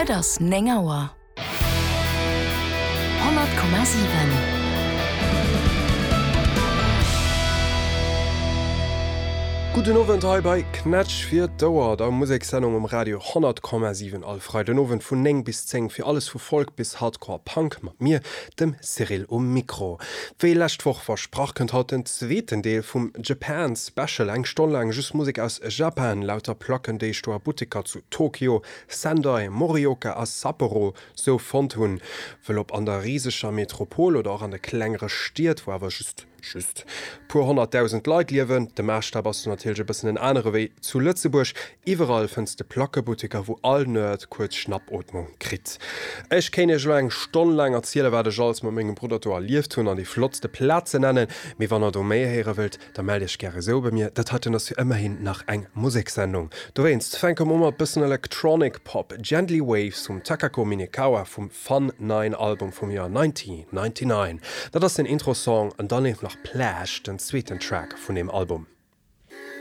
Et ass 9 Auer. 100,7. Gudden Owend hei bei Knätsch fir d'Ouer, der Musekssendung um Radio 100,7 all Freidenowend vun 9 bis 10 fir alles vu Folk bis Hardcore Punk mat mir, dem Cyril um Mikro. Wéi lescht Woch versprach kënnt haut den zweeten Deel vum Japan Special, eng Stonn laang just Musek aus Japan, lauter Placken déi ech do a Butteker zu Tokio, Sendai, Morioka a Sapporo sou fonnt hunn. Wëll ob an der riseger Metropol oder och an de klengere Stied, wou awer just, just puer 100.000 Leit liewen, de Maasstap ass do natierlech e bëssen en anere wéi zu Lëtzebuerg, iwwerall fënns de Plackebutteker, wou all Nerd kuerz Schnappootmung kritt. Ech kéint iech elo eng Stonn laang erzielen, wat ech alles mat mengem Brudder do erlieft hunn an déi flottste Plazen nennen, mee wann der do méi héiere wëllt, Da mellt iech gäre sou bei mir, dat heiten ass jo ëmmerhin nach eng Musekssendung. Dowéinst fänke mer u mat bëssen Electronic Pop, Gently Waves vum Takako Minekawa vum Fun 9 Album vum Joer 1999. Dat ass den Intro-Song an dann leeft nach Plash, den zweeten Track vun deem Album.